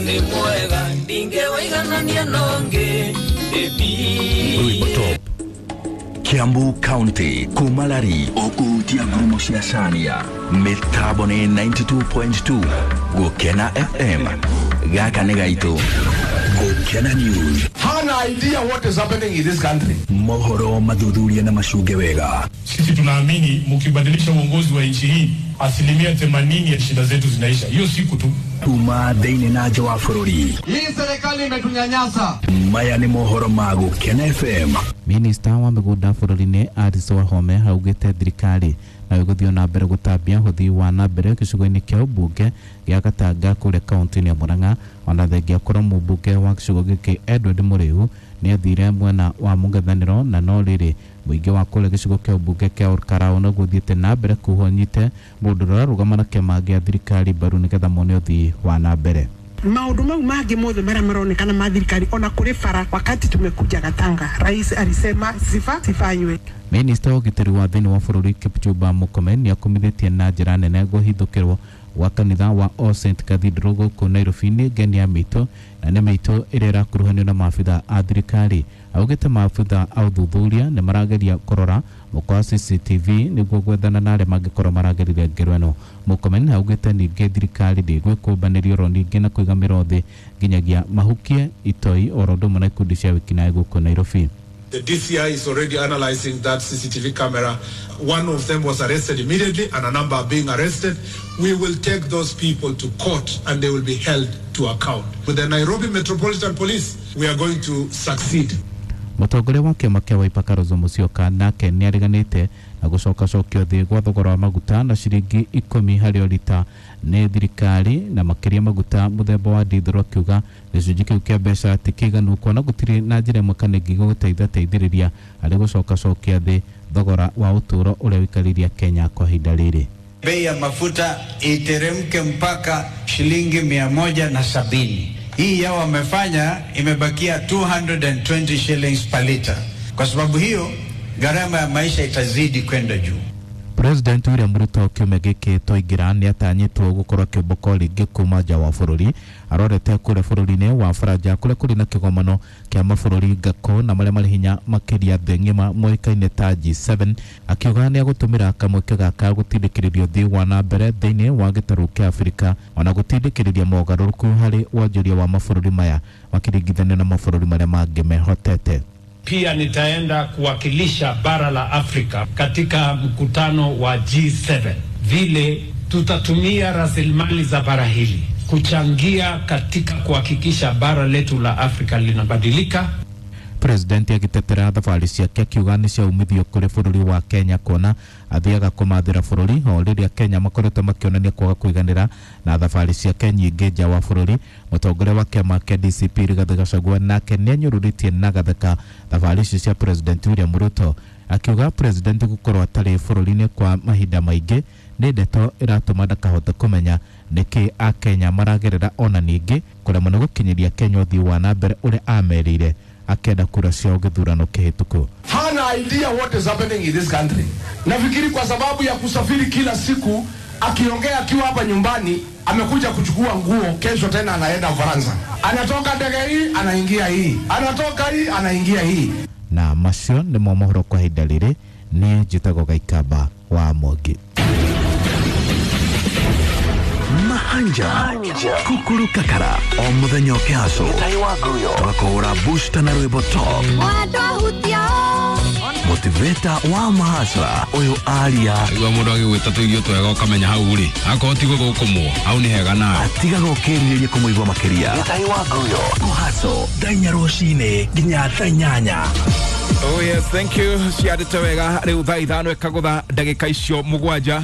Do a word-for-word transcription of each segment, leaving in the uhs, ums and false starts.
Nĩ mwega ndingĩwĩiganania nongĩ. Rwĩmbo Top. Kiambu County kumalari ukuhutia ngurumo cia Cania mitambo ni ninety two point two Gukena F M gaka nĩ gaitũ. Gukena News. Hana idea what is happening in this country. Mohoro mathuthuria na mashunge wega. Sisi tunaamini mkibadilisha uongozi wa nchi hii asilimia themanini ya shida zetu zinaisha. Hiyo siku tu. Tuma thĩinĩ na nja wa bũrũri. Hii serikali imetunyanyasa. Maya nĩ mohoro ma Gukena F M. Minista wa mĩgũnda bũrũri-inĩ Alice Wahome augĩte thirikari na ĩgũthiĩ na mbere gũtambia ũthii wa na mbere gĩcigo-inĩ kĩa ũmbunge gĩa Gatanga kũrĩa kaunti-inĩ ya Murang'a. Ona thengia korwo mũmbunge wa gĩcigo gĩkĩ Edward Mũrĩu nĩathire mwena wa mũng'ethanĩro, na no rĩrĩ mũingĩ wa kũrĩa gĩcigo kĩa ũmbunge kĩa Olkalau nĩguo ũthiĩte na mbere kuhwo nyite mũndũ ũrĩa ũrarũgama na kĩama gĩa thirikari mbaru nĩgetha mone ũthii wa na mbere. Maundu mau mangi mothe maria maronekana ma thirikari ona kuri bara, wakati tumekuja Gatanga rais alisema sifa sifanywe. Minista wa ũgitĩri wa thĩinĩ wa bũrũri Kipchumba Murkomen nĩakumithĩtie na njĩra nene kũhithũkĩrwo gwa kanitha wa All Saint Cathedral gũkũ Nairobi nĩ ngeni ya mĩitũ na nĩ mĩitũ ĩrĩa ĩrakuruhanio na maabitha a thirikari. Augĩte maabitha a ũthuthuria nĩ marageria kũrora mũkwa wa C C T V nĩguo gwethana na arĩa mangĩkorwo maragerire ngero ĩno. Murkomen augĩte ningĩ thirikari ndĩgwĩkũmbanĩria oro ningĩ na kũiga mĩro thĩ nginyagia mahukie itoi oro ũndũ ũmwe na ikundi cia wĩkinaĩ gũkũ Nairobi. The D C I is already analyzing that C C T V camera. One of them was arrested immediately and a number are being arrested. We will take those people to court and they will be held to account. With the Nairobi Metropolitan Police, we are going to succeed. Mũtongoria wa kĩama kĩa Wiper Kalonzo Musyoka nake nĩareganĩte na gũcokacokio thĩ gwa thogora wa maguta na ciringi ikũmi harĩ o rita nĩ thirikari, na makĩria maguta mũthemba wa diesel, akiuga gĩcunjĩ kĩu kĩa mbeca ti kĩiganu kuona gũtirĩ na njĩra ĩmwe kana ĩngĩ gũteithateithĩrĩria harĩ gũcokacokia thĩ thogora wa ũtũũro ũrĩa ũikarĩria Kenya kwa ihinda rĩrĩ. Bei ya mafuta iteremke mpaka shilingi mia moja na sabini. Hii yao wamefanya imebakia two hundred and twenty shillings per liter. Kwa sababu hiyo gharama ya maisha itazidi kwenda juu. President William Ruto kiumia gĩkĩ twaingĩra nĩatanyĩtwo gũkorwo akĩũmbũka rĩngĩ kuma nja wa bũrũri. Arorete kũrĩa bũrũri-inĩ wa Faranja kũrĩa kũrĩ na kĩgomano kĩa mabũrũri ngakũ na marĩa marĩ hinya makĩria thĩ ng'ima moĩkaine ta G seven, akiuga nĩegũtũmĩra kamweke gaka gũtindĩkĩrĩria ũthii wa na mbere thĩinĩ wa gĩtarũ kĩa Afrika ona gũtindĩkĩrĩria mogarũrũku harĩ wonjoria wa mabũrũri maya makĩringithanio na mabũrũri marĩa mangĩ mehotete. Pia nitaenda kuwakilisha bara la Afrika katika mkutano wa G seven. Vile tutatumia rasilimali za bara hili kuchangia katika kuhakikisha bara letu la Afrika linabadilika. President agĩtetera thabarĩ ciake akiuga nĩ cia umithio kũrĩ bũrũri wa Kenya kuona athiaga kũmathĩra bũrũri o rĩrĩa Kenya makoretwo makĩonania kwaga kũiganĩra na thabarĩ ciake nyingĩ nja wa bũrũri. Mũtongoria wa kĩama kĩa D C P Rigathĩ Gachagua nake nĩanyũrũrĩtie na gatheka thabarĩ icio cia President William Ruto, akiuga President gũkorwo atarĩ bũrũri-inĩ kwa mahinda maingĩ nĩ ndeto ĩratũma ndakahote kũmenya nĩkĩ Akenya maragerera, ona ningĩ kũremwo nĩ gũkinyĩria Kenya ũthii wa na mbere ũrĩa ameriire akenda kura ciao gĩthurano kĩhĩtũku. Hana idea what is happening in this country. Nafikiri kwa sababu ya kusafiri kila siku, akiongea akiwa hapa nyumbani, amekuja kuchukua nguo, kesho tena anaenda Ufaransa. Anatoka ndege hii, anaingia hii. Anatoka hii, anaingia hii. Na macio nĩmo mohoro kwa ihinda rĩrĩ. Niĩ njĩtagwo Gaikamba wa Mwangi. Mahanja Kukuru Kakara o muthenya ũkĩhacwo twakũhũra booster na rwĩmbo top motivator wa mahasra ũyũ aria igua mũndũ agĩgwĩta tũirio twega ũkamenya hau rĩ akorwo ti gũthũkũmwo hau nĩ hega nawe atigaga ũkĩrirĩria kũmũigua makĩria. Kũhacwo thaa inya rũcinĩ nginya thaa inyanya. Oh yes, thank you. Ciandĩte wega rĩu thaa ithano ĩkagũtha ndagĩka icio mũgwanja.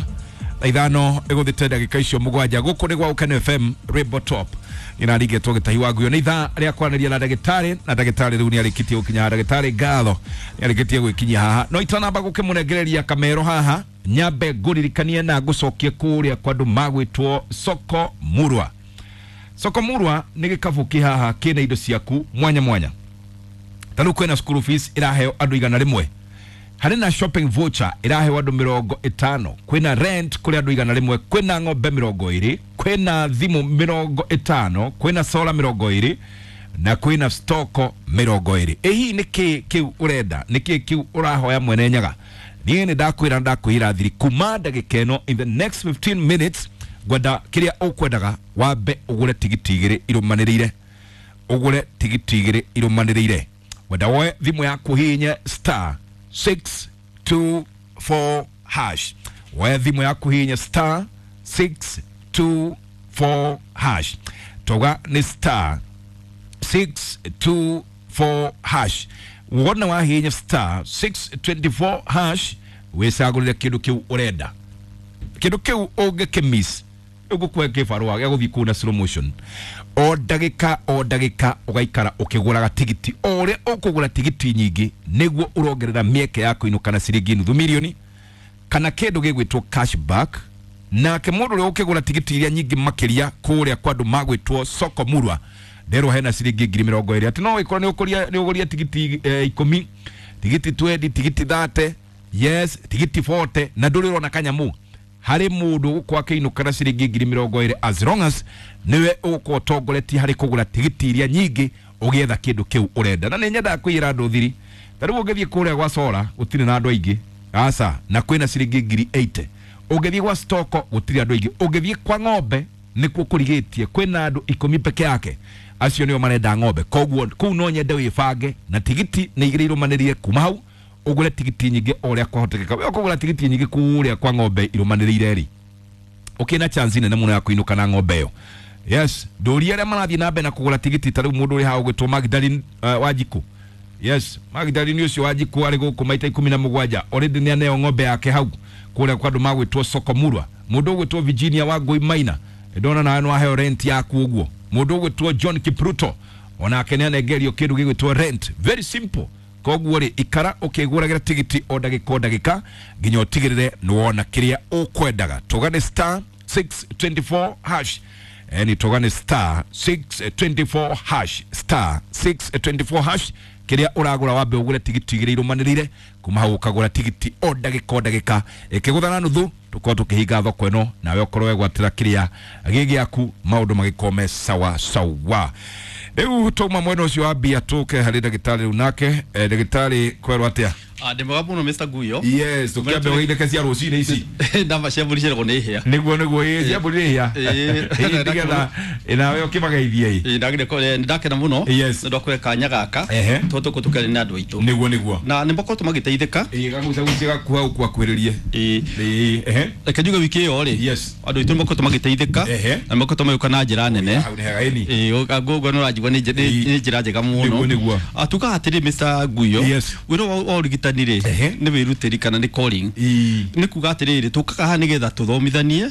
Thaa ithano ĩgũthĩte ndagĩka icio mũgwanja. Gũkũ nĩ gwa Ũkeno F M Rwĩmbo Top. Nĩrarigĩtwo gĩtahi wa nguo. Nĩ ithaa rĩa kwaranĩria na ndagĩtarĩ, na ndagĩtarĩ rĩu nĩarĩkĩtie gũkinya. Ndagĩtarĩ ngatho nĩarĩkĩtie gwĩkinyia haha. No itanamba gũkĩmũnengereria kamero haha, nyambe ngũririkanie na ngũcokie kũrĩa kwa andũ magwĩtwo Soko Murwa. Soko Murwa nĩ gĩkabũ kĩ haha kĩna indo ciaku mwanya mwanya. Ta rĩu kwĩna school fees ĩraheo andũ igana rĩmwe. Harĩ na shopping voucher ĩraheo andũ mĩrongo ĩtano. Kwĩna rent kũrĩ andũ igana rĩmwe. Kwĩna ng'ombe mĩrongo ĩrĩ. Kwĩna thimũ mĩrongo ĩtano, kwĩna sola mĩrongo ĩrĩ na kwĩna stoko mĩrongo ĩrĩ. Ĩ hihi nĩkĩ kĩu ũrenda, nĩkĩ kĩu ũrahoya Mwene Nyaga? Niĩ nĩ ndakwĩra, ndakwĩra thiri kuma ndagĩka ĩno, in the next fifteen minutes ngwenda kĩrĩa ũkwendaga wambe ũgũre tigiti igĩrĩ irũmanĩrĩire, ũgũre tigiti igĩrĩ irũmanĩrĩire. Wenda woe thimũ yaku hihinye star six two four hash, woe thimũ yaku hihinye star six two four hash, toga nĩ star six two four hash. Wona wahihinya star six twenty-four hash wĩcagũrĩre kĩndũ kĩu ũrenda, kĩndũ kĩu ũngĩkĩmiss ũgũkue kĩbarũa gĩa gũthiĩ kũu na slow motion. O ndagĩka o ndagĩka ũgaikara ũkĩgũraga tigiti, o ũrĩa ũkũgũra tigiti nyingĩ nĩguo ũrongerera mĩeke ya kũinũka na ciringi nuthu mirioni kana kĩndũ gĩgwĩtwo cashback. Nake mũndũ ũrĩa ũkĩgũra tigiti iria nyingĩ makĩria kũrĩa kwa andũ magwĩtwo Soko Murwa nderwo hena ciringi ngiri mĩrongo ĩrĩ, atĩ no ĩkorwo nĩ ũkũria nĩ ũgũria tigiti eh, ikũmi, tigiti twenty, tigiti thirty, yes, tigiti forty, na ndũrĩ ũrona kanyamũ harĩ mũndũ ũgũkorwo akĩinũka na ciringi ngiri mĩrongo ĩrĩ as long as nĩwe ũgũkorwo ũtongoretie harĩ kũgũra tigiti iria nyingĩ ũgĩetha kĩndũ kĩu ũrenda. Na nĩ nyendaga kwĩra andũ thiri, ta rĩu ũngĩthiĩ kũrĩa gwa Sora gũtirĩ na andũ aingĩ, aca, na kwĩna ciringi ngiri eighty. Ũngĩthiĩ gwa Stoko gũtirĩ andũ aingĩ, ũngĩthiĩ kwa ng'ombe nĩkuo kũrigĩtie, kwĩna andũ ikũmi peke yake, acio nĩo marenda ng'ombe. Koguo kũu no nyende wĩbange na tigiti nĩ igĩrĩ irũmanĩrĩire kuma hau ũgũre tigiti nyingĩ o ũrĩa kwahotekeka. We ũkũgũra tigiti nyingĩ kũrĩa kwa ng'ombe irũmanĩrĩire rĩ, ũkĩna chance nene mũno ya kũinũka na ng'ombe ĩyo. Yes, ndũria arĩa marathiĩ na mbere na kũgũra tigiti, ta rĩu mũndũ ũrĩ haha ũgwĩtwo Magdalene uh, Wanjikũ. Yes, Magdalene ũcio Wanjikũ arĩ gũkũ maita ikũmi na mũgwanja already nĩ aneo ng'ombe yake hau kũrĩa kwa andũ magwĩtwo Soko Murwa. Mũndũ ũgwĩtwo Virginia Wangũi Maina ndona nawe no aheo rent yaku ũguo. Mũndũ ũgwĩtwo John Kipruto onake nĩ anengerio kĩndũ gĩgwĩtwo rent, very simple. Koguo rĩ, ikara ũkĩgũragĩra tigiti o ndagĩka o ndagĩka nginya ũtigĩrĩre nĩ wona kĩrĩa ũkwendaga. Tũgane star six twenty-four hash, ni tũgane star six twenty-four hash, star six twenty-four hash, kĩrĩa ũragũra wambe ũgũre tigiti igĩrĩ irũmanĩrĩire kuma hau ũkagũra tigiti o ndagĩka o ndagĩka. Ĩkĩgũtha na nuthu tũkorwo tũkĩhinga thoko ĩno, nawe ũkorwo wegwatĩra kĩrĩa gĩ gĩaku, maũndũ magĩkorwo me sawa sawa. Rĩu twauma mwena ũcio wa mbia tũke harĩ ndagĩtarĩ rĩu nake. eh, ndagĩtarĩ kwerwo atĩa? Ah, ndĩ mwega mũno Mister Guyo. Yes, tũkĩambe ũgeithĩke cia rũcinĩ ici. Ndamba cia mbũri ciaragwo nĩ hĩa. Nĩguo nĩguo, ĩ cia mbũri nĩ hĩa. Ĩ nĩgetha nawe ũkĩmageithie. Ĩ ndagire ko ndakena mũno nĩ ũndũ wa kũhe kanya gaka tondũ tũkũ tũkĩaria na andũ aitũ. Nĩguo nĩguo. Na nĩ makoretwo magĩteithĩka. Ĩ gagucagucia gaku hau kwakuhĩrĩrie. Ĩ ĩ ehe. Reke njuge wiki ĩyo rĩ. Yes. Andũ aitũ nĩ makoretwo magĩteithĩka na makoretwo magĩũka na njĩra nene. Hau nĩ hega ĩni. Ĩ ũguo nĩ ũranjigua nĩ njĩra njega mũno. Nĩguo nĩguo. Tugaga atĩrĩ Mister Guyo. Yes. Wĩra wa ũrigitani rĩ nĩ wĩrutĩri kana nĩ calling, nĩ kuga atĩrĩrĩ tũkaga haha nĩgetha tũthomithanie,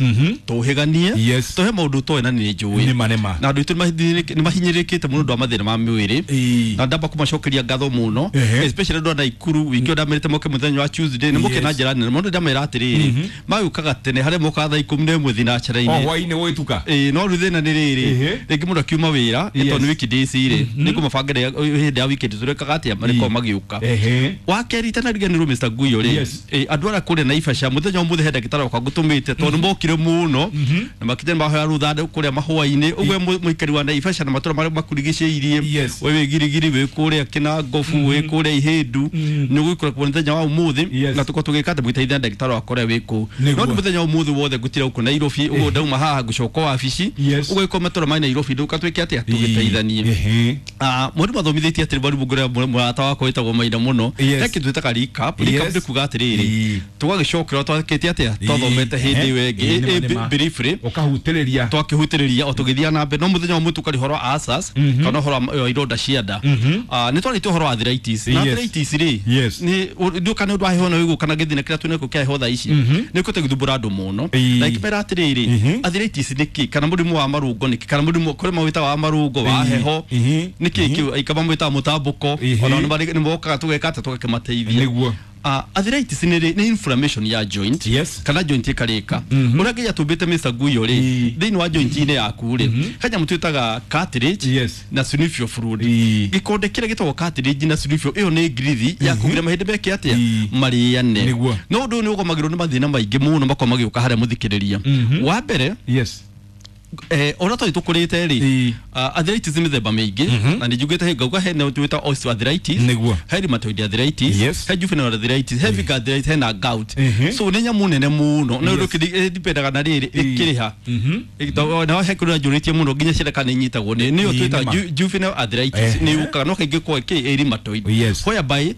tũhĩganie, tũhe maũndũ toĩ na nĩ njũĩ na andũ aitũ nĩ mahinyĩrĩrĩkĩte mũno ũndũ wa mathĩna ma mwĩrĩ, na ndamba kũmacokeria ngatho mũno especially andũ a Naikuru. Wiki ĩyo ndamerĩte moke mũthenya wa Tuesday nĩ moke na njĩra nene mũno, ndamera atĩrĩrĩ magĩũkaga tene harĩa mokaga thaa ikũmi na ĩmwe thinacara-inĩ o hwaĩ-inĩ gũgĩtuka. Ĩ no rĩu thĩna nĩ rĩrĩ, rĩngĩ mũndũ akiuma wĩra tondũ nĩ weekdays rĩ nĩ kũmabangĩra hĩndĩ ya weekend tũrekaga atĩa marĩkorwo magĩũka. Wa kerĩ itanariganĩrwo Mister Guyo rĩ, andũ arĩa kũrĩa Naivasha mũthenya ũmũthĩ he ndagĩtarĩ wakwa ngũtũmĩte tondũ mokire mũno na makinya mahoya rũtha kũrĩa mahũa-inĩ ũguo mũikari wa Naivasha na matũra marĩa makurigicĩirie, we wĩ Girigiri, wĩ kũrĩa Kĩnangobu, wĩ kũrĩa Ihĩndu, nĩ ũgũikara kuo mũthenya wa ũmũthĩ na tũkorwo tũgĩka atĩ mũgĩteithia ndagĩtarĩ wakwa ũrĩa wĩ kũu. No nĩ mũthenya wa ũmũthĩ wothe ngũtira gũkũ Nairobi, ũguo ndauma haha ngũcoka wabici, ũguo ĩkorwo matũra ma Nairobi ndũka twĩke atĩa tũgĩteithanie. Mwarimu athomithĩtie atĩrĩ, mwarimu ngũrĩa mũrata wakwa wĩtagwo Maina mũno, he kĩndũ twĩtaga recap. Recap nĩ kuga atĩrĩrĩ tũgagĩcokera twakĩte atĩa twathomete hĩndĩ ĩyo ĩngĩ briefly, ũkahutĩrĩria twakĩhutĩrĩria o tũgĩthiĩ na mbere. No mũthenya wa mũtu ũkarĩ ũhoro wa ulcers kana ũhoro wa ironda cia nda. Nĩ twarĩtie ũhoro wa arthritis, na arthritis rĩ nĩ ndũka nĩ ũndũ wa heho na wĩguo kana gĩthina kĩrĩa twĩnakĩo kĩa heho thaa ici nĩ kũte gũthumbũra andũ mũno. Na ikĩmera atĩrĩrĩ arthritis nĩ kĩ, kana mũrimũ wa marũngo nĩ kĩ, kana mũrimũ kũrĩ mawĩtaga wa marũngo wa heho nĩ kĩ kĩu, ikaba mwĩtaga mũtambũko, ona nĩ mokaga tũgeka atĩa tũgakĩmateithia. Nĩguo. Uh, arthritis nĩ nĩ inflammation ya joint. Yes. Kana joint ĩkarĩka. Ũrĩa nginya tũmbĩte Mister Guyo rĩ, thĩinĩ wa joint-inĩ yaku rĩ, he nyamũ twĩtaga cartilage. Yes. Na synovial fluid. Gĩkonde kĩrĩa gĩtagwo cartilage na synovial ĩyo nĩ ngirithi ya kũgira mahĩndĩ meke atĩa marĩane. No ũndũ ũyũ nĩ ũgomagĩrwo nĩ mathĩna maingĩ mũno makoragwo magĩũka harĩa mũthikĩrĩria. Wa mbere, yes, Eh ora to tukurite ri arthritis mithemba mingi na ni njugite ngauga he no twita osteoarthritis he rheumatoid arthritis he juvenile arthritis he heavy arthritis he na gout so ni nyamu nene muno no ndu dipendaga na riri ikiriha na he kura njuritie muno nginya ciana kana inyitagwo ni niyo twita juvenile arthritis ni ukaga no kaingĩ kwa ki rheumatoid whereby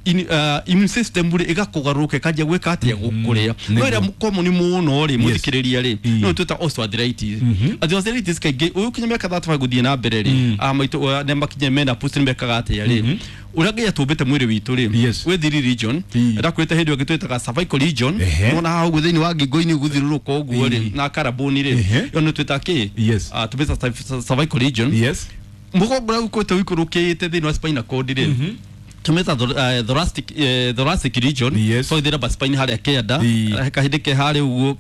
in uh, immune system ri igakugaruka ikaanjia gwika atia gukuria no ira common muno ri muthikiriria ri no twita osteoarthritis arthritis kaingĩ uyu kinya miaka thirty five guthie na mbere ri a maitu ne makinye mena post mekaga atia ri uria ngai atumbite mwiri witu ri wi three region ndakwite hindi ũngĩ twitaga cervical region nona haha ũguo thĩinĩ wa ngingo-inĩ gũthiũrũrũka ũguo ri na karaboni ri ĩyo nĩ twĩtaga kĩ tũmĩta cervical region mũgongo ũrĩa ũkoretwo ũikũrũkĩte thĩinĩ wa spinal cord ri tumeta thoracic thoracic region so ithira ba spine haria kianda kahinde ke haria uguo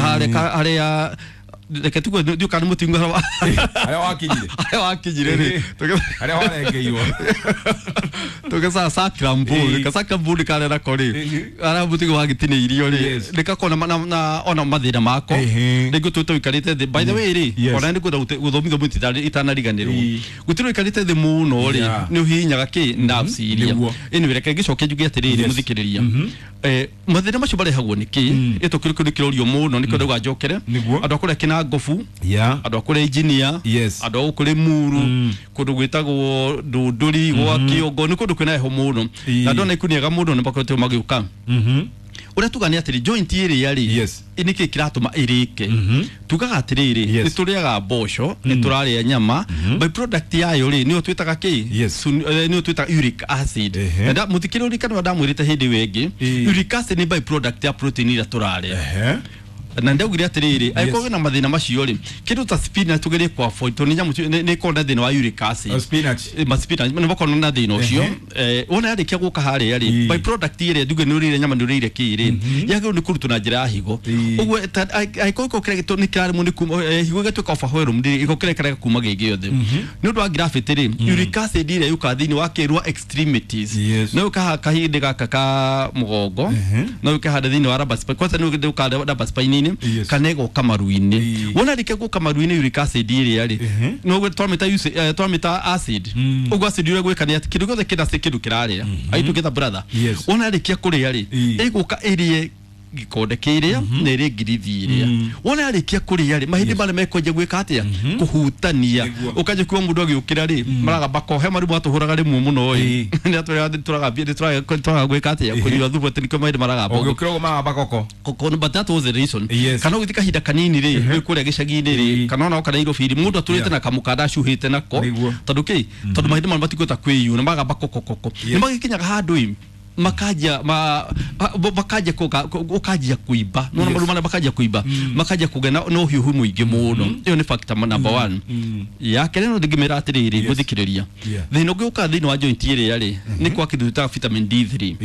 haria haria reke tugue ndiũ kana mũtingo haria wakinyire haria wakinyire ri haria warengeirwo tugeca sacrum bone ka sacrum bone karia nako ri haria mũtingo wagitinĩirio ri nĩgakona na ona mathĩna mako rĩngĩ tũtũ ũikarĩte thĩ by the way ri ona nĩ ngwenda gũthomithio mũtĩ itanariganĩrwo gũtirĩ ũikarĩte thĩ mũno ri nĩ ũhihinyaga kĩ nerves iria anyway reke ngĩcoke njuge atĩrĩrĩ mũthikĩrĩria eh mathĩna macio marehagwo nĩ kĩ ĩtũ kĩrĩ kĩrorio mũno nĩkĩo ndauga njokere andũ a kũrĩa kĩna ngobu andũ a kũrĩa engineer andũ a gũkũ Limuru kũndũ gwĩtagwo Ndũndũri gwa Kĩongo nĩ kũndũ kwĩna heho mũno na andũ a Naikuru nĩ ega mũno nĩ makoretwo magĩũka uria tuga ni atiri joint ĩrĩa rĩ nĩkĩ kĩratũma ĩrĩke tugaga atĩrĩrĩ nĩ tũrĩaga mboco nĩ tũrarĩa nyama by product yayo rĩ nĩyo twĩtaga kĩ nĩyo twĩtaga uric acid na mũthikĩrĩria ndamwĩrĩte hĩndĩ ĩyo ĩngĩ uric acid nĩ by product ya protein ĩrĩa tũrarĩa na ndaugire atiriri angĩkorwo wĩna mathĩna macio rĩ kĩndũ ta spinach tugerie kwa avoid tondũ nĩ nyamũ nĩ ĩkoragwo na thĩna wa uric acid spinach ma spinach nĩ makoragwo na thĩna ũcio eh wona yarĩkia gũka harĩa rĩ by product ĩrĩa nduge nĩ ũrĩire nyama nĩ ũrĩire kĩ rĩ yagĩrĩirwo nĩ kũrutwo na njĩra ya higo ũguo angĩkorwo gĩko kĩrĩa nĩ kĩraremwo nĩ kuma higo ĩgatuĩka overwhelmed rĩ gĩko kĩrĩa kĩrega kuma gĩ gĩothe nĩ ũndũ wa gravity rĩ uric acid ĩrĩa yũkaga thĩinĩ wa kĩrwa extremities no yũka kahĩndĩ gaka ka mũgongo no yũke handũ thĩinĩ wa lumbar spine kwanza nĩ yũka lumbar spine yes. Kana ĩgoka maru-inĩ wona rĩke gũka maru-inĩ uric acid ĩrĩa rĩ no twamĩta twamĩta acid ũguo acid ũrĩa gwĩka nĩ atĩ kĩndũ gĩothe kĩna kĩndũ kĩrarĩa are you together brother wona rĩkia kũrĩa rĩ ĩgũka ĩrĩe gikonde kĩrĩa na ĩrĩe ngirithi ĩrĩa wona arĩkia kũrĩa rĩ mahĩndĩ marĩa mekwenja gwĩka atĩa kũhutania ũkanjia kuona mũndũ agĩũkĩra rĩ maragamba ko he marumũ atũhũraga rĩmwe mũno ĩ nĩ atũrĩa tũragambia nĩ tũraga gwĩka atĩa kũnyua thubu atĩ nĩkĩo mahĩndĩ maragamba ũgĩũkĩra ũguo maragamba koko koko but that was the reason kana ũgĩthiĩ kahinda kanini rĩ wĩ kũrĩa gĩcagi-inĩ rĩ kana ona oka Nairobi rĩ mũndũ atũrĩte na kamũkanda acuhĩte nako tondũ kĩ tondũ mahĩndĩ marĩa matikũhota kwĩyuna maragamba koko koko nĩ magĩkinyaga handũ ĩ makaja ma makaja koka ukaja kuiba no maru mana makaja kuiba makaja kugena no hiuhu muingi muno iyo ni factor number one ya kere no ndingimira atiriri guthikiriria thina ungi uka thina wa joint ĩrĩa rĩ ni kwa kindu ta vitamin D three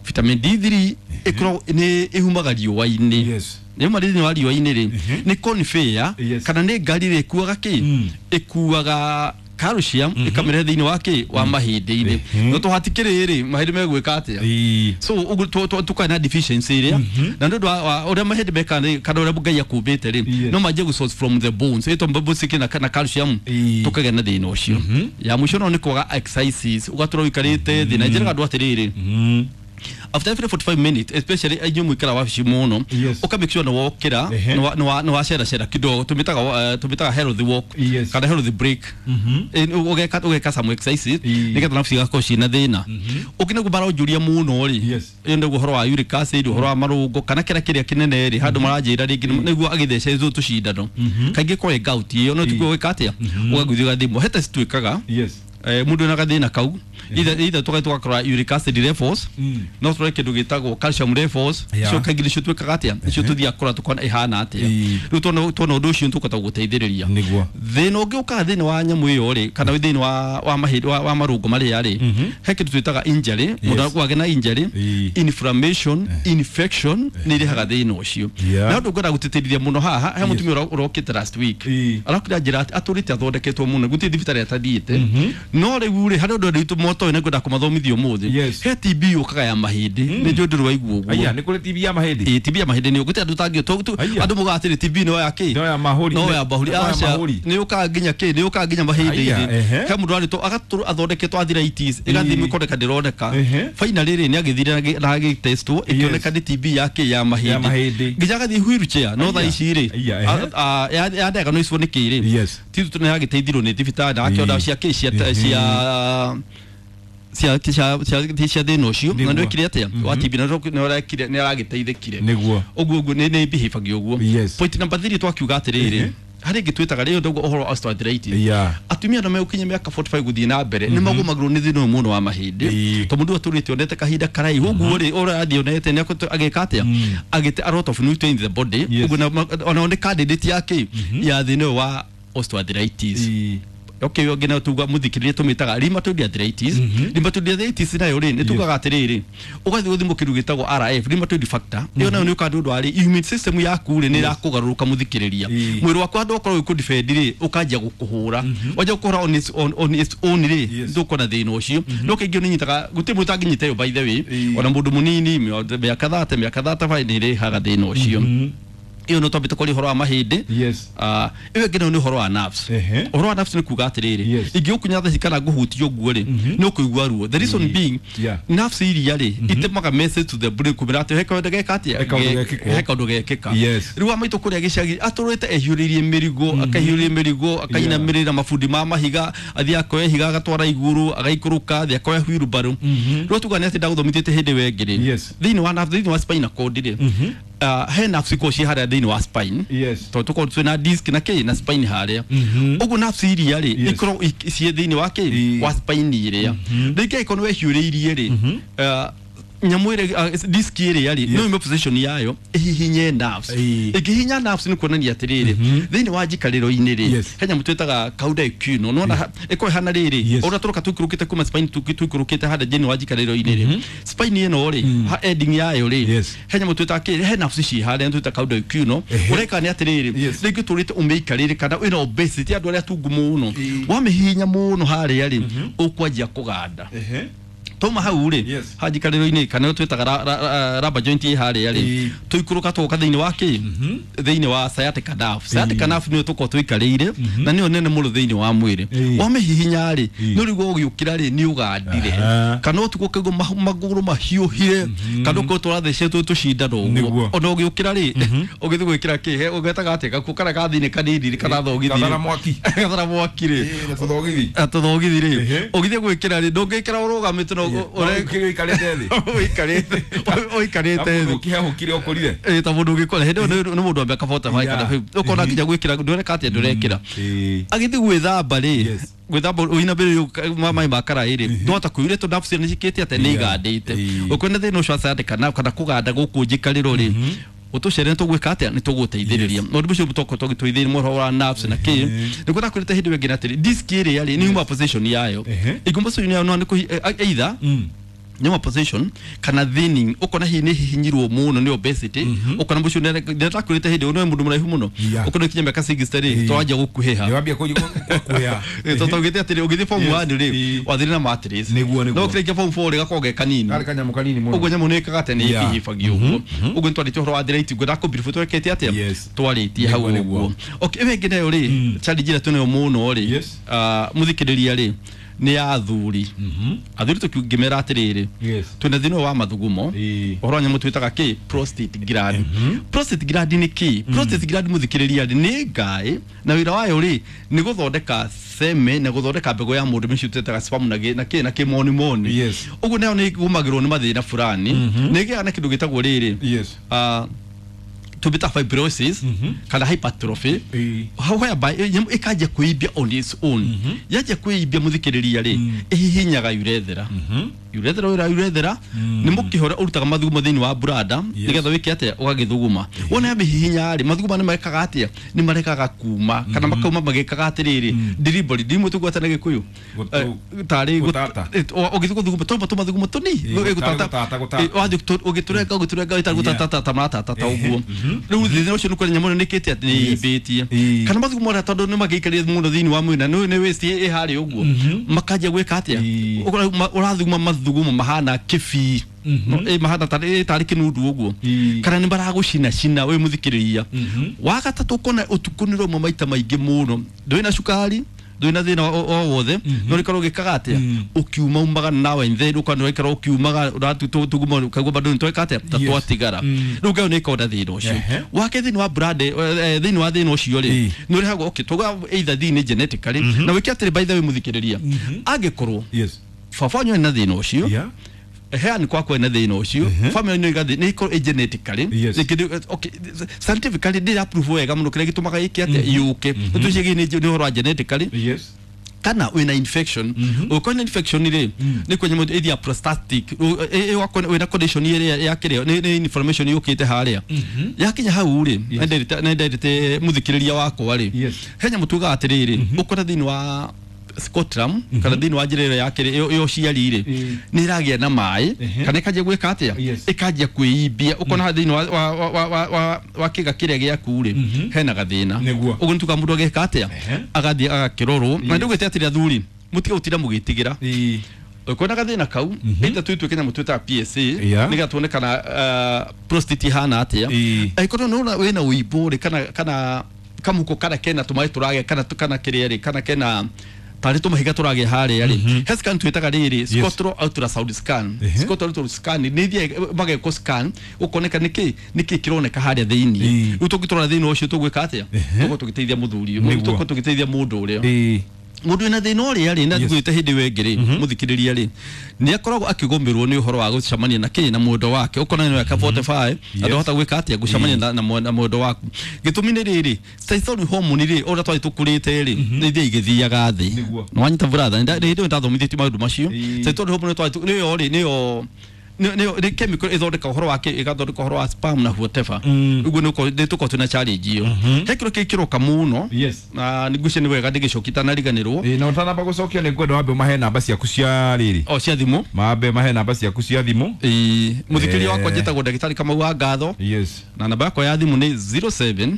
vitamin D three ikoragwo ni ihumaga riũa-inĩ nĩ ma thĩinĩ wa riũa-inĩ rĩ nĩ conveyor kana nĩ ngari rĩ ĩkuaga kĩ ĩkuaga calcium ikamere thĩinĩ wa kĩ wa mahĩndĩ-inĩ no tũhatikĩrĩ rĩ mahĩndĩ megwĩka atĩa so ũguo tũkarĩ na deficiency ĩrĩa na nĩ ũndũ wa ũrĩa mahĩndĩ mekaga kana ũrĩa Ngai akũmbĩte rĩ no manjie gũ source from the bones ĩtũ bones kĩna na calcium tũkagĩa na thĩna ũcio ya mũico no nĩ kwaga exercises ũgatũra ũikarĩte thĩ na njĩraga andũ atĩrĩrĩ after every forty-five minutes especially inyuĩ mũikara wabici mũno ũka make sure nĩ wokĩra nĩ wacera cera kidogo tũmĩtaga tũmĩtaga healthy walk kana healthy break ũgeka ũgeka some exercises nĩgetha nerves igakorwo ciĩna thĩna ũngĩ nĩguo maronjũria mũno rĩ ĩyo nĩguo ũhoro wa uric acid ũhoro wa marũngo kana kĩrĩa kĩrĩa kĩnene rĩ handũ maranjĩra rĩngĩ nĩguo agĩthecetwo tũcindano kaingĩ kwa gout ĩyo no tiguo gwĩka atĩa ũgagũthiĩ ũgathimwo he test twĩkaga eh mundu na gathina kau either either tuka tukakora uric acid levels no turore kindu gitagwo calcium levels cio kaingĩ nicio twĩkaga atĩa nicio tuthiaga kũrora tukona ihana atĩa rĩu tuona tuona ũndũ ũcio nĩtũkũhota gũteithĩrĩria thĩna ũngĩ ũkaga thĩinĩ wa nyamũ ĩyo rĩ kana thĩinĩ wa wa mahĩndĩ wa marũngo marĩa rĩ he kĩndũ twĩtaga injury mũndũ akwagĩa na injury inflammation infection nĩ irehaga thĩna ũcio na ũndũ ngwenda gũtĩtĩrithia mũno haha he mũtumia ũrokĩte last week arakĩra njĩra atĩ atũrĩte athondeketwo mũno gũtirĩ thibitarĩ atathiĩte No rĩu rĩ harĩ ũndũ andũ motoĩ na ngwenda kũmathomithia ũmũthĩ. He T B yũkaga ya mahĩndĩ nĩ njũĩ ndũrĩ waigua ũguo. Aya nĩ kũrĩ T B ya mahĩndĩ. Ĩ T B ya mahĩndĩ nĩ ũgũte andũ tangĩ andũ mugaga atĩrĩ T B no ya kĩ no ya mahũri no ya mahũri aca nĩ yũkaga nginya kĩ nĩ yũkaga nginya mahĩndĩ-inĩ. He mũndũ arĩtwo agatũrwo athondeketwo arthritis ĩgathiĩ ĩkoneka ndĩroneka. Finally rĩ nĩ agĩthire na agĩtestwo ĩkĩoneka nĩ T B ya kĩ ya mahĩndĩ nginya agathiĩ wheelchair no thaa ici rĩ ya diagnosis nĩ kĩ rĩ ti tu nĩ agĩteithirwo nĩ thibitarĩ na akĩona cia kĩ cia cia cia cia cia cia thĩna ũcio na nĩ wĩkire atĩa wa T B na nĩ ũrekire nĩ aragĩteithĩkire nĩguo ũguo ũguo nĩ nĩ behave ũguo. Point number three twakiuga atĩrĩrĩ harĩ ĩngĩ twĩtaga rĩo ndauga ũhoro wa osteoarthritis. Atumia no megũkinya mĩaka forty five gũthiĩ na mbere nĩ magũmagĩrwo nĩ thĩna ũyũ mũno wa mahĩndĩ tondũ mũndũ atũrĩte onete kahinda karaihu ũguo rĩ ũrathiĩ onete nĩ agĩka atĩa agĩte a lot of nutrients in the body ũguo ona nĩ candidate ya kĩ ya thĩna ũyũ wa osteoarthritis. Okay yo ngina tuga muthikiririe tumitaga rheumatoid arthritis. Rheumatoid arthritis nayo ri ni tugaga atiriri ugathi guthimwo kindu gitagwo R F rheumatoid factor iyo nayo ni ukandu ndu ari immune system yaku ri ni irakugaruruka muthikiriria mwiri waku andu okorwo ku defend ri ukanjia gukuhura wanja gukuhura on its on on its own ri ndukona thina ucio no kaingĩ ni nyitaga guti mundu tanginyita yo by the way ona mundu munini miaka thate miaka thate five ni rihaga thina ucio. Iyo no twambite kwaria ũhoro wa mahĩndĩ. Ah iyo ĩngĩ nayo nĩ ũhoro wa nerves. Ũhoro wa nerves nĩ kuga atĩrĩrĩ ingĩgũkunya thaa ici kana ngũhutie ũguo rĩ nĩ ũkũigua ruo. The reason being nerves iria rĩ itemaga message to the brain kumĩra atĩ he kaũndũ geka atĩa he kaũndũ gekĩka. Rĩu wa maitũ kũrĩa gĩcagi atũrĩte ehiũrĩirie mĩrigo akahiũrĩria mĩrigo akainamĩrĩra mabundi ma mahiga athiĩ akoya ihiga agatwara igũrũ agaikũrũka athiĩ akoya wheelbarrow. Rĩu tuga nĩ atĩ ndagũthomithĩtie hĩndĩ ĩyo ĩngĩ rĩ thĩinĩ wa nerves thĩinĩ wa spinal cord rĩ he nerves ikoragwo ciĩ harĩa thĩinĩ wa spine tondũ tũkoragwo twĩna disc na kĩ na spine harĩa ũguo nerves iria rĩ ikoragwo ciĩ thĩinĩ wa kĩ wa spine ĩrĩa rĩngĩ angĩkorwo nĩ wehiũrĩirie rĩ nyamũ ĩrĩa disc ĩrĩa rĩ no ime position yayo ĩhihinye nerves. Ĩngĩhihinya nerves nĩ kuonania atĩrĩrĩ thĩinĩ wa njikarĩro-inĩ rĩ he nyamũ twĩtaga cauda equina nĩwona ĩkoragwo ĩhana rĩrĩ ũrĩa tũroka tũikũrũkĩte kuma spine tũikũrũkĩte harĩa thĩinĩ wa njikarĩro-inĩ rĩ spine ĩno rĩ ha ending yayo rĩ he nyamũ twĩtaga kĩ he nerves ciĩ harĩa twĩtaga cauda equina ũreka nĩ atĩrĩrĩ rĩngĩ tũrĩte ũmĩikarĩre kana wĩna obesity andũ arĩa tungu mũno wamĩhihinya mũno harĩa rĩ ũkwanjia kũganda toma hau rĩ hanjikarĩro-inĩ kana twĩtaga rubber joint ĩ harĩa rĩ tũikũrũka tũgoka thĩinĩ wa kĩ thĩinĩ wa sciatic nerve. Sciatic nerve nĩyo tũkoragwo tũikarĩire na nĩyo nene mũno thĩinĩ wa mwĩrĩ wamĩhihinya rĩ nĩ ũrĩguo ũgĩũkĩra rĩ nĩ ũgandire kana ũtukũ ũkaigua magũrũ mahiũhire kana ũkorwo tũrathecetwo tũcindano ũguo ona ũgĩũkĩra rĩ ũgĩthiĩ gwĩkĩra kĩ ũgetaga atĩa gakuo karĩa ga thĩinĩ kanini kana thogithi gathara mwaki gathara mwaki rĩ tũthogithi rĩ ũgĩthiĩ gwĩkĩra rĩ ndũngĩkĩra ũrũgamĩte no ũikarĩte ũikarĩte thĩ ũkĩhehũkire ũkũrire ĩ ta mũndũ ũgĩkora hĩndĩ ĩyo nĩ mũndũ wa mĩaka forty five kana fifty ũkona nginya gwĩkĩra ndũreka atĩa ndũrekĩra agĩthiĩ gwĩthamba rĩ gwĩthamba ũinamĩrĩire maĩ ma karaĩ rĩ ndwahota kũiyũria tondũ nerves nĩ cikĩte atĩa nĩ igandĩte ũkwĩna thĩna ũcio wa sciatica nerve kana kũganda gũkũ njikarĩro rĩ utucere nĩ tũgwĩka atĩa nĩ tũgũteithĩrĩria maũndũ macio tũkorwo tũgĩteithĩrĩria mũhoro wa nerves na kĩ nĩguo ndakwĩrĩte hĩndĩ ĩyo ĩngĩ na atĩrĩ disc ĩrĩa rĩ nĩ yuma position yayo ĩnguma position yayo no nĩ either nyuma position kana thinning ukona hihi nĩ hihinyirwo mũno nĩ obesity ukona mũcio ndakwĩrĩte hĩndĩ ĩyo nĩ mũndũ mũraihu mũno ukona kinya mĩaka sixty rĩ twanjia gũkuhĩha wambia gũkuhĩha tondũ ũgĩthiĩ atĩrĩ ũgĩthiĩ form one rĩ wathire na mattress nĩguo nĩguo no kĩrĩkia form four rĩ gakorwo ge kanini karĩ kanyamũ kanini mũno ũguo nyamũ nĩ ĩkaga atĩa nĩ ĩhihibagia ũguo ũguo nĩ twarĩtie ũhoro wa arthritis ngwenda kũbrief twekete atĩa twarĩtie hau ũguo okay ĩyo ĩngĩ nayo rĩ challenge ĩrĩa twĩnayo mũno rĩ mũthikĩrĩria rĩ nĩ ya athuri athuri tũkĩngĩmera atĩrĩrĩ twĩna thĩna wa mathugumo ũhoro wa nyamũ twĩtaga kĩ prostate gland. Prostate gland nĩ kĩ prostate gland mũthikĩrĩria rĩ nĩ ngaĩ na wĩra wayo rĩ nĩ gũthondeka seme na gũthondeka mbegũ ya mũndũ mĩcio twĩtaga sperm na na kĩ na kĩmonimoni ũguo nayo nĩ ĩgũmagĩrwo nĩ mathĩna fulani nĩ ĩgĩaga na kĩndũ gĩtagwo rĩrĩ tubita fibrosis kana hypertrophy whereby ĩkanjia kwĩimbia on its own yanjia kwĩimbia mũthikĩrĩria rĩ ĩhihinyaga urethra Urethra ũrĩa urethra nĩ mũkĩhora ũrutaga mathugumo thĩinĩ wa brada nĩgetha wĩke atĩa ũgagĩthuguma. Wona yamĩhihinya rĩ mathuguma nĩ marekaga atĩa nĩ marekaga kuma kana makauma magĩkaga atĩrĩrĩ delivery ndimwe tũgwata na Gĩkũyũ tarĩ ũgĩthiĩ gũthuguma tũma tũmathugumo tũni wathiĩ ũgĩtũrenga ũgĩtũrenga ĩtarĩ gũtatata maratata ũguo rĩu thĩna ũcio nĩ kũrĩa nyamũ ĩno nĩkĩte atĩ nĩ ĩimbĩtie kana mathugumo marĩa tondũ nĩ magĩikarire mũno thĩinĩ wa mwĩrĩ na nĩ waste ĩ harĩa ũguo makanjia gwĩka atĩa ũrathuguma mathugumo mahana kĩbii no mahana tarĩ tarĩ kĩnundu ũguo kana nĩ maragũcina cina wĩ mũthikĩrĩria. Wa gatatũ ũkona ũtukũ nĩ ũrauma maita maingĩ mũno ndũrĩ na cukari ndũrĩ na thĩna o wothe no rĩkorwo ũgĩkaga atĩa ũkiuma umaga nawe then ũkona ũraikara ũkiumaga ũratuguma ũkaigua bado nĩ tweka atĩa ta twatigara rĩu ngayo nĩ ĩkonda thĩna ũcio wake thĩinĩ wa brand thĩinĩ wa thĩna ũcio rĩ nĩ ũrehagwo okay tuga either thĩinĩ genetically na wĩke atĩrĩ by the way mũthikĩrĩria angĩkorwo baba wanyu ena thĩna ũcio heani kwakwa ena thĩna ũcio family nĩ igathi nĩ ikorwo genetically okay scientifically ndĩra prove wega mũno kĩrĩa gĩtũmaga ĩke atĩa yũke tũciĩgiĩ nĩ ũhoro wa genetically kana wĩna infection ũkorwo na infection rĩ nĩ kwenye mũndũ ĩthia prostatic wĩna condition ĩrĩa ya kĩrĩa nĩ inflammation yũkĩte harĩa yakinya hau rĩ nĩ nderĩte mũthikĩrĩria wakwa rĩ he nyamũ tugaga atĩrĩrĩ ũkora thĩinĩ wa Scotland kana thĩinĩ wa njĩra ĩyo ya kĩrĩ ĩyo ciari rĩ nĩ ĩragĩa na maĩ kana ĩkanjia gwĩka atĩa ĩkanjia kwĩimbia ũkona thĩinĩ wa wa wa wa kĩga kĩrĩa gĩaku rĩ hena gathĩna ũguo nĩ tuga mũndũ ageka atĩa agathiĩ agakĩrorwo na ndũgĩte atĩrĩ athuri mũtige gũtinda mũgĩtigĩra ũkona gathĩna kau ĩta tuituĩke nyamũ twĩtaga P S A nĩgetha tuone kana prostate ihana atĩa angĩkorwo nĩ wĩna ũimbo rĩ kana kana kamuko kana kena tũmaĩ tũragĩa kana kana kĩrĩa rĩ kana kena tarĩ tũmahiga tũragĩa harĩa rĩ he scan twĩtaga rĩrĩ Scotro ultrasound scan Scotro ultrasound scan nĩ ithiĩ magekwo scan ũkoneka nĩkĩ nĩkĩ kĩroneka harĩa thĩinĩ rĩu tũngĩtũrora thĩinĩ ũcio tũgwĩka atĩa tũgũkorwo tũgĩteithia mũthuri ũyũ tũgũkorwo tũgĩteithia mũndũ ũrĩa mũndũ wĩna thĩna ũrĩa rĩ na ngwĩte hĩndĩ ĩyo ĩngĩ rĩ mũthikĩrĩria rĩ nĩ akoragwo akĩgũmĩrwo nĩ ũhoro wa gũcemania na kĩ na mwendwa wake ũkona nĩ weka forty-five andũhota gwĩka atĩa gũcemania na na mwendwa waku gĩtũmi nĩ rĩrĩ testosterone hormone rĩ ũrĩa twarĩ tũkũrĩte rĩ nĩ ithiĩ igĩthiaga thĩ nĩ wanyita brother nĩ hĩndĩ ĩyo ndathomithĩtio maũndũ macio testosterone hormone twarĩ nĩyo rĩ nĩyo nĩ chemical ĩthondeka ũhoro wake ĩgathondeka ũhoro wa sperm na whatever ũguo nĩ tũkorwo twĩna challenge ĩyo he kĩro kĩngĩ kĩroka mũno na nĩngwĩciria nĩ wega ndĩgĩcokia itanariganĩrwo na ũtanamba gũcokia nĩ ngwenda wambe ũmahe namba ciaku cia rĩrĩ o cia thimũ mambe mahe namba ciaku cia thimũ mũthikĩrĩria wakwa njĩtagwo ndagĩtarĩ Kamau wa Ngatho na namba yakwa ya thimũ nĩ zero seven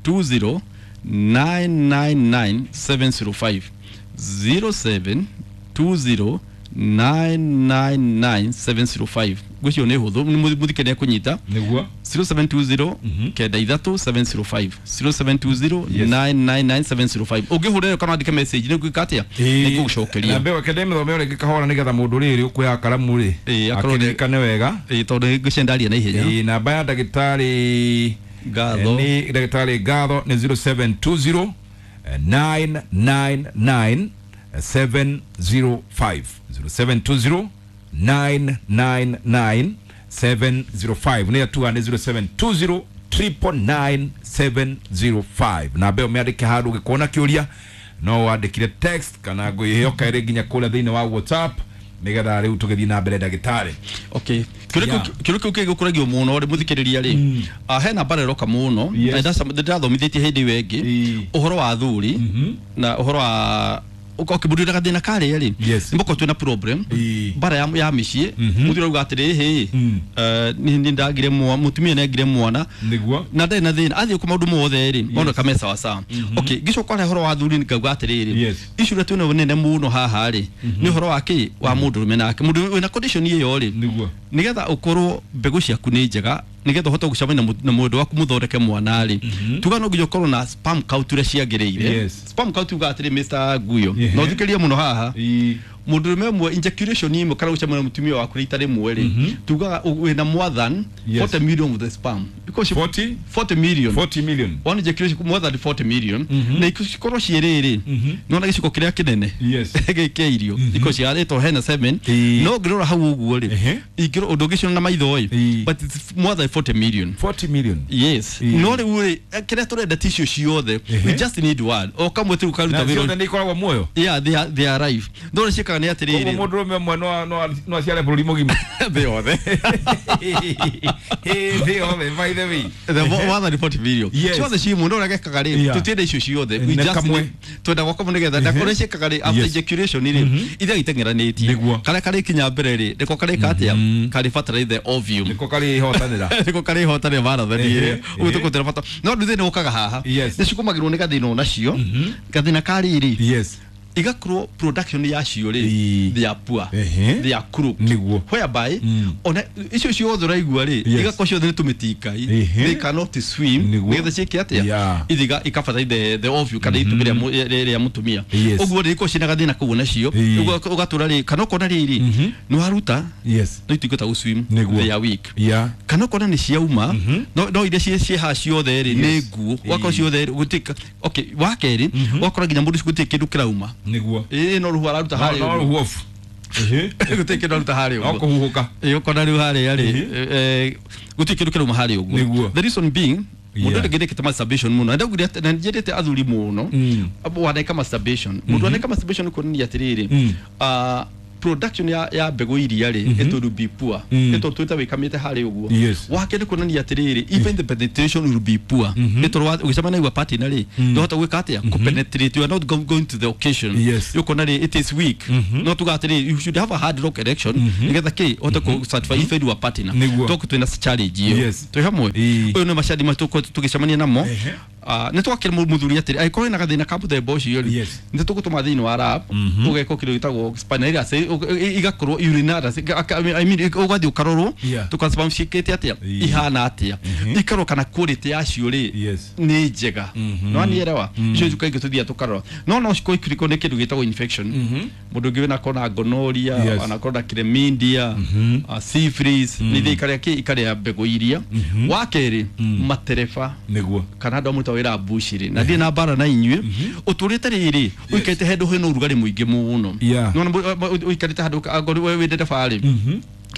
two zero nine nine nine seven zero five zero seven two zero nine nine nine seven zero five ngwĩciria nĩ hũthũ mũthikĩrĩria kũnyita nĩguo zero seven two zero kenda ithatũ seven zero five zero seven two zero nine nine nine seven zero five ũngĩhũrĩra kana wandĩke message nĩ ngwĩka atĩa nĩ ngũgũcokeria na mbeo kende mĩthome rĩngĩ kahora nĩgetha mũndũ rĩrĩ ũkuoya karamu rĩ akĩririkane wega tondũ ngwĩciria ndaria na ihenya namba ya ndagĩtarĩ Ngatho nĩ ndagĩtarĩ Ngatho nĩ zero seven two zero nine nine nine seven zero five zero seven two zero nine nine nine seven zero five nä atuga nä zero seven two zero triple nine seven zero five na mbeo mä handå gä kuona kä å ria no wandä kire text kana ngå yoka ä nginya kå rä a thä inä wa WhatsApp nä getha rä u tå gä thiä na mbere ndagätarä okay kĩũria kĩu kĩgũkũragio mũno rĩ mũthikĩrĩria rĩ hena mbara ĩroka mũno ndathomithĩtie hĩndĩ ĩyo ĩngĩ ũhoro wa athuri na ũhoro wa okay mũndũ wĩna gathĩna karĩa rĩ nĩ mũkorwo twĩna problem mbara ya ya mĩciĩ mũthuri auga atĩrĩ hĩ nĩ ndagire mwana mũtumia nĩ agire mwana na ndarĩ na thĩna athiĩ kũ maũndũ mothe rĩ maũndũ kame sawa sawa okay ngĩcoka ũhoro wa athuri ngauga atĩrĩrĩ issue ĩrĩa twĩnayo nene mũno haha rĩ nĩ ũhoro wa kĩ wa mũndũrũme nake mũndũ wĩna condition ĩyo rĩ nĩgetha ũkorwo mbegũ ciaku nĩ njega nĩgetha ũhote gũcemania na mũndũ waku mũthondeke mwana rĩ tuga no nginya ũkorwo na sperm count ũrĩa ciagĩrĩire sperm count uga atĩrĩ Mister Guyo na ũthikĩrĩrie mũno haha mũndũrũme ũmwe ejaculation ĩmwe kana gũcemania na mũtumia waku rita rĩmwe rĩ tugaga wĩna more than forty million of the sperm because forty forty million forty million one ejaculation more than forty million na ikorwo ciĩrĩ rĩ nĩwona gĩciko kĩrĩa kĩnene gĩkĩa irio ikorwo ciarĩtwo hena seven no ngĩrora hau ũguo rĩ ingĩrora ũndũ ũngĩciona na maitho ĩ but it's more than forty million forty million yes no rĩu rĩ kĩrĩa tũrenda ti icio ciothe we just need one o kamwe tu karuta wĩra ciothe nĩ ikoragwo muoyo yeah they are, they are alive no ciĩkaga gĩkaga nĩ atĩrĩrĩ Koguo mũndũrũme ũmwe no no no aciare bũrũri mũgima thĩ yothe thĩ yothe by the way the one hundred forty million Yes. ciothe ci mũndũ ũrĩa gekaga rĩ Yeah. tũtienda icio ciothe we Nĩ just kamwe. need- twenda gwaka mũno nĩgetha na kũrĩa ciĩkaga rĩ after Yes. ejaculation rĩ ithiaga iteng'eranĩtie Nĩguo. karĩa karĩkinya mbere rĩ nĩko karĩka atĩa karĩ the ovum nĩko karĩhotanĩra nĩko karĩhotanĩra marathoni Ehe, ĩrĩa ũguo ehe. tũkũtĩra bata no rĩu thĩna ũkaga haha Yes. nĩ cikumagĩrwo nĩ gathĩna onacio gathĩna ka rĩrĩ yes igakorwo production yacio rĩ Ii. they are poor Ehe. they are crooked Nĩguo. whereby Mm. ona icio ciothe ũraigua rĩ Yes. igakorwo ciothe nĩ tũmĩtingai Ehe. they cannot swim Nĩguo. nĩgetha ciĩke atĩa Yeah. ithiga ikabatara the the ovule kana itumbĩ rĩa mu- rĩa rĩa mũtumia Yes. ũguo rĩ ikorwo ciĩna gathĩna kau nacio Ii. ũguo ũgatũra rĩ kana ũkona rĩrĩ nĩ waruta yes no ituĩke gũ swim Nĩguo. they are weak yeah kana ũkona nĩ ciauma no no iria ciĩ ciĩ haha ciothe rĩ nĩ Yes. nguo ũgakorwo ciothe rĩ gũtirĩ okay wa kerĩ ũgakora nginya mũndũ ũcio gũtirĩ kĩndũ kĩrauma nĩguo ĩĩ no rũhuho araruta no harĩa no ũguo. rũhuobu Ehe. Gũtirĩ kĩndũ aruta harĩa no ũguo kũhuhũka ĩĩ ũkona rĩu harĩa rĩ eh, gũtirĩ kĩndũ kĩrauma harĩa ũguo Nĩguo. the reason being mũndũ Yeah. ũrĩa ũngĩrĩkĩte masturbation mũno na ndaugire atĩ- na nĩnjĩrĩte athuri mũno Mm. waneka masturbation mũndũ waneka masturbation kuonania atĩrĩrĩ Mm. ah, production ya, ya mbegũ iria rĩ it will be poor Mm. ĩtondũ twĩta wĩkamĩte harĩa ũguo Yes. wake nĩ kuonania atĩrĩrĩ even the penetration will be poor ĩtondũ ũgĩcemania na your partner rĩ ndũhota gwĩka atĩa kũpenetrate you are not go- going to the occasion Yes. ũkona rĩ it is weak no tuga atĩrĩrĩ you should have a hard rock erection nĩgetha kĩ ũhote kũ satisfy even your partner Nĩguo. tondũ twĩna challenge ĩyo Yes. twĩ hamwe Ĩĩ. ũyũ nĩ macandi matũ tũgĩcemania namo Ehe. Ah, nĩ twakĩra mũthuri atĩrĩ angĩkorwo wĩna gathĩna ka mũthemba ũcio rĩ Yes. nĩ tũgũtũma thĩinĩ wa lab ũgekwo kĩndũ gĩtagwo spinal igakorwo urinary I mean ũgathiĩ ũkarorwo Yeah. tũkasema ciĩkĩte atĩa Ĩĩ. ihana atĩa ikarorwo kana quality yacio rĩ Yes. nĩ njega no anielewa icio kaingĩ tũthiaga tũkarora no no cikorwo ikĩrĩkwo nĩ kĩndũ gĩtagwo infection mũndũ ũngĩ wĩna akorwo na gonorrhea Yes. anakorwo na chlamydia uh, syphilis nĩ ithiĩ ikarĩa kĩ ikarĩa mbegũ iria wa kerĩ matereba nĩguo kana andũ amwe wĩra mbucĩrĩ na ndirĩ na mbara na inyuĩ ũtũrĩte rĩrĩ ũikarĩte handũ hena ũrugarĩ mũingĩ mũno Yeah. Nĩwona mũ- mũ- ũikarĩte handũ angorwo we wĩ ndereba rĩ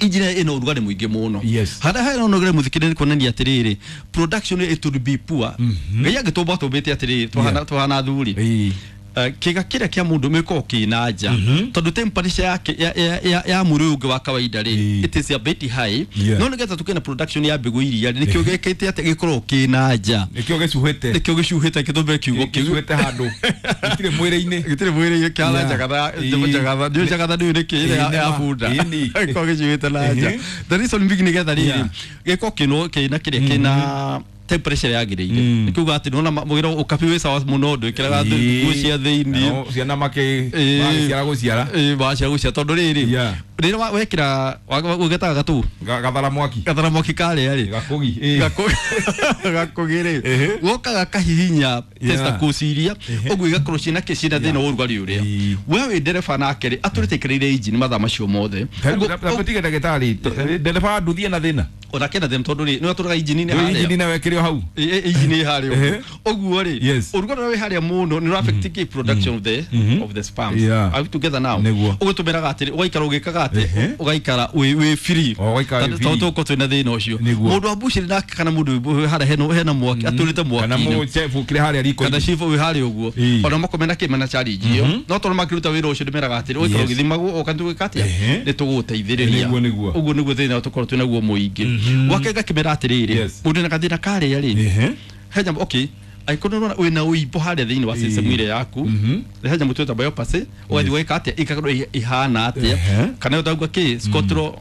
injini ĩna ũrugarĩ mũingĩ mũno Yes. harĩa hena ũrugarĩ mũingĩ nĩ kuonania atĩrĩrĩ production it will be poor ngai angĩtũmba atũmbĩte atĩrĩrĩ twahana twahana athuri Ĩĩ. Eh, kĩga kĩrĩa kĩa mũndũ gĩkoragwo kĩ na nja tondũ temperature yake ya, ya, ya, ya mwĩrĩ ũyũ ũngĩ wa kawaida rĩ Ĩĩ. it is a bit high Yeah. no nĩgetha tũkĩe na production ya mbegũ iria rĩ nĩkĩo gĩkĩte atĩ gĩkoragwo kĩ na nja nĩkĩo gĩcuhĩte nĩkĩo gĩcuhĩte gĩtũmĩre kiugo kĩu gĩcuhĩte handũ gĩtirĩ mwĩrĩ-inĩ gĩtirĩ mwĩrĩ-inĩ kĩhana Yeah. njagatha Ĩĩ. njagatha nĩ njagatha nĩ nĩkĩ ĩrĩa ya- Ĩĩ, ya nĩma. bunda Ĩĩ, nĩ. gĩkoragwo gĩcuhĩte na nja Ehe. the reason being nĩgetha rĩrĩ Yeah. gĩkorwo kĩno kĩna kĩrĩa kĩna temperature yagĩrĩire Mm. nĩ kuga atĩ nĩwona mwĩra ũkabi wĩ sawa mũno ndwĩkĩraga Ĩĩ. nguo cia thĩinĩ Nao ciana makĩ Ĩĩ. magĩciara gũciara Ĩĩ, waciara gũciara tondũ rĩrĩ Yeah. rĩrĩa wa- wekĩra ũgetaga gatũ Ga- gathara mwaki gathara mwaki karĩa rĩ gakũgi ĩĩ. gakũgĩ rĩ Ehe. gokaga kahihinya Yeah. testicles iria Ehe. ũguo igakorwo ciĩna kĩ ciĩna thĩna wa ũrugarĩ ũrĩa Ĩĩ. we wĩ ndereba nake rĩ atũrĩte aikarĩire injini mathaa macio mothe Tarĩu Ũguo- na- na tige ndagĩtarĩ t- ndereba nduthi ena thĩna onake na thĩna tondũ rĩ nĩ atũraga injini-inĩ Rĩu injini harĩa nawe ĩkĩrĩ o hau Ĩ- ĩ- injini ĩ harĩa Ehe. ũguo ũguo rĩ Yes. ũrugarĩ ũrĩa wĩ harĩa mũno nĩ ũra affect kĩ production of the of the sperms Yeah. are we together now Nĩguo. ũguo tũmeraga atĩrĩ ũgaikara ũgĩkaga atĩ Ehe. ũgaikara wĩ wĩ free O, ũgaikara wĩ Tondũ- free. tondũ tũgũkorwo twĩna thĩna ũcio Nĩguo. mũndũ wa mbucĩrĩ nake kana mũndũ wĩ harĩa hena hena mwaki atũrĩte kana mwaki-inĩ mũchebu kĩrĩ harĩa riko kana cibu wĩ harĩa ũguo Ĩĩ. ona makomena kĩ mena challenge ĩyo no tondũ makĩruta wĩra ũcio ndĩmeraga atĩrĩ ũgaikara Yes. ũgĩthimagwo ũka tũgĩka atĩa Ehe. nĩ tũgũgũteithĩrĩria Nĩguo, nĩguo. ũguo nĩguo thĩna tũkorwo twĩ naguo mũingĩ gwake ngakĩmera atĩrĩrĩ Yes. mũndũ na gathĩna karĩa rĩ Ehe. he nyamũ okay angĩkorwo nĩũrona wĩna ũimbo harĩa thĩinĩ wa system ĩrĩa yaku he nyamũ twĩta biopsy ũgathiĩ ũgeka atĩa ĩgakorwo ĩ- ihana atĩa Ehe. kana ũtauga kĩ scotro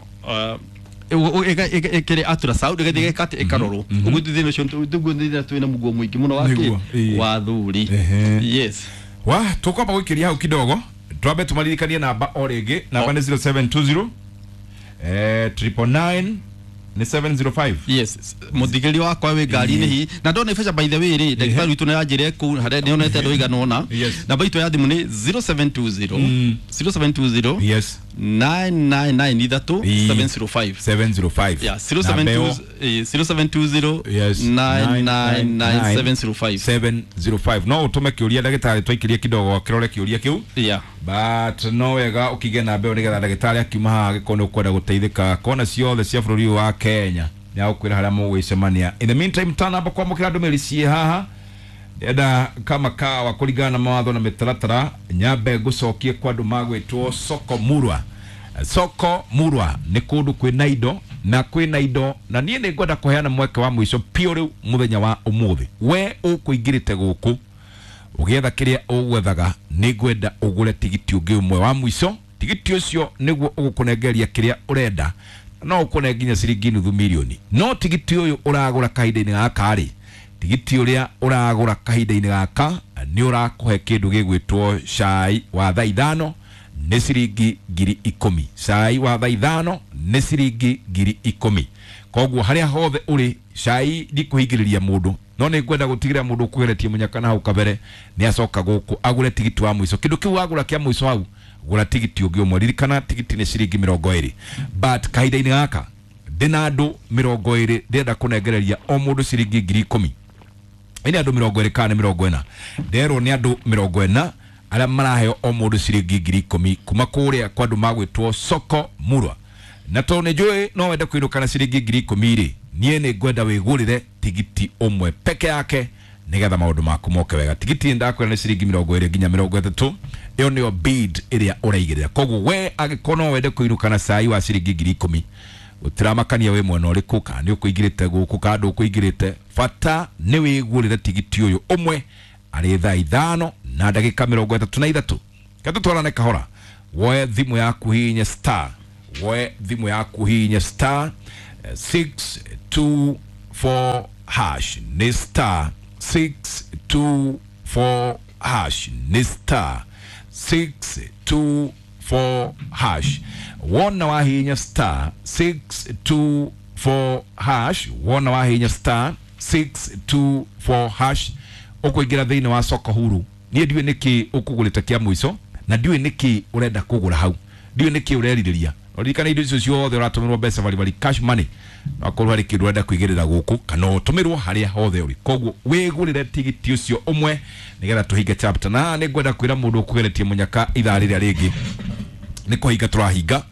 ĩkĩrĩ ultrasound ĩgathiĩ ĩgeka atĩa ĩkarorwo ũguo thĩna ũcio ũguo thĩna twĩna mũguo mũingĩ mũno wa kĩ Nĩguo, ĩĩ. wa thuri Ehe. yes wa tũkwamba gũikĩria hau kidogo twambe tũmaririkanie namba o rĩngĩ namba nĩ zero seven two zero eh, triple nine nĩ seven zero five yes muthigĩrĩria wakwa wĩ ngari-inĩ hihi na ndona ibeca by the way rĩ ndagĩtarĩ witũ nĩ anjĩre kũu harĩa nĩonete andũ aigana ũna Yes. namba itũ ya thimũ nĩ zero seven two zero zero seven two zero yes nine nine nine ithatũ Ĩĩ. seven zero five seven zero five yeah zero seven two eh, zero seven two zero Yes. nine nine nine seven zero five seven zero five no ũtũme kĩũria ndagĩtarĩ twaikĩrie kidogo akĩrore kĩũria kĩu yeah but no wega ũkĩgĩa namba ĩyo nĩgetha ndagĩtarĩ akiuma haha angĩkorwo nĩ ũkwenda gũteithĩka kona ciothe cia bũrũri ũyũ wa Kenya nĩ agũkwĩra harĩa mũgwĩcemania in the meantime tanamba kwamũkĩra ndũmĩrĩri ciĩ haha Ndĩrenda kama kawa kũringana na mawatho na mĩtaratara nyambe ngũcokie kwa andũ magwĩtwo Soko Murwa. Soko Murwa nĩ kũndũ kwĩna indo na kwĩna indo, na niĩ nĩ ngwenda kũheana mweke wa mũico piũ rĩu mũthenya wa ũmũthĩ. We ũkũingĩrĩte gũkũ ũgĩetha kĩrĩa ũgwethaga, nĩ ngwenda ũgũre tigiti ũngĩ ũmwe wa mũico. Tigiti ũcio nĩguo ũgũkũnengeria kĩrĩa ũrenda, no ũkũne nginya ciringi nuthu mirioni. No tigiti ũyũ ũragũra kahinda-inĩ gaka rĩ, tigiti ũrĩa ũragũra kahinda-inĩ gaka nĩ ũrakũhe kĩndũ gĩgwĩtwo cai wa thaa ithano nĩ ciringi ngiri ikũmi. Cai wa thaa ithano nĩ ciringi ngiri ikũmi. Koguo harĩa hothe ũrĩ, cai ndikũhingĩrĩria mũndũ, no nĩ ngwenda gũtigĩrĩra mũndũ ũkũgeretie mũnyaka na hau kabere nĩ acoka gũkũ agũre tigiti wa mũico. Kĩndũ kĩu wagũra kĩa mũico hau, gũra tigiti ũngĩ ũmwe. Ririkana tigiti nĩ ciringi mĩrongo ĩrĩ, but kahinda-inĩ gaka ndĩna andũ mĩrongo ĩrĩ ndĩrenda kũnengereria o mũndũ ciringi ngiri ikũmi. Ĩnĩ andũ mĩrongo ĩrĩ kana nĩ mĩrongo ĩna, nderwo nĩ andũ mĩrongo ĩna arĩa maraheo o mũndũ ciringi ngiri ikũmi kuma kũrĩa kwa andũ magwĩtwo Soko Murwa. Na tondũ nĩ njũĩ no wende kũinũka na ciringi ngiri ikũmi rĩ, niĩ nĩ ngwenda wĩgũrĩre tigiti ũmwe peke yake nĩgetha maũndũ maku moke wega. Tigiti ndakwĩra nĩ ciringi mĩrongo ĩrĩ nginya mĩrongo ĩtatũ, ĩyo nĩyo bid ĩrĩa ũraigĩrĩra. Koguo we angĩkorwo no wende kũinũka na cai wa ciringi ngiri ikũmi, gũtiramakania wĩ mwena ũrĩkũ, kana nĩ ũkũingĩrĩte gũkũ kana ndũkũingĩrĩte, bata nĩ wĩgũrĩre tigiti ũyũ ũmwe arĩ thaa ithano na ndagĩka mĩrongo ĩtatũ na ithatũ. Reke tũtwarane kahora. Woe thimũ yaku hihinye star, woe thimũ yaku hihinye star six two four hash, nĩ star six two four hash, nĩ star six two four hash. Wona wahihinya star six two four hash, wona wahihinya star six two four hash, ũkũingĩra thĩinĩ wa Soko Huru. Niĩ ndiũĩ nĩkĩ ũkũgũrĩte kĩa mũico, na ndiũĩ nĩkĩ ũrenda kũgũra hau, ndiũĩ nĩkĩ ũrerirĩria. Ririkana indo icio ciothe ũratũmĩrwo mbeca baribari, cash money, no akorwo harĩ kĩndũ ũrenda kũigĩrĩra gũkũ kana ũtũmĩrwo harĩa hothe ũrĩ. Koguo wĩgũrĩre tigiti ũcio ũmwe nĩgetha tũhinge chapter. Na nĩ ngwenda kwĩra mũndũ ũkũgeretie mũnyaka ithaa rĩrĩa rĩngĩ nĩ kũhinga tũrahinga,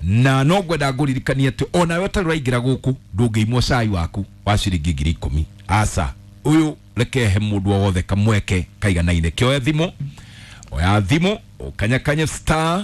na no ngwenda ngũririkanie atĩ onawe ũtarĩ ũraingĩra gũkũ ndũngĩimwo cai waku wa ciringi ngiri ikũmi. Aca, ũyũ reke he mũndũ o wothe kamweke kaiganaine. Kĩoe thimũ, oya thimũ, ũkanyakanye star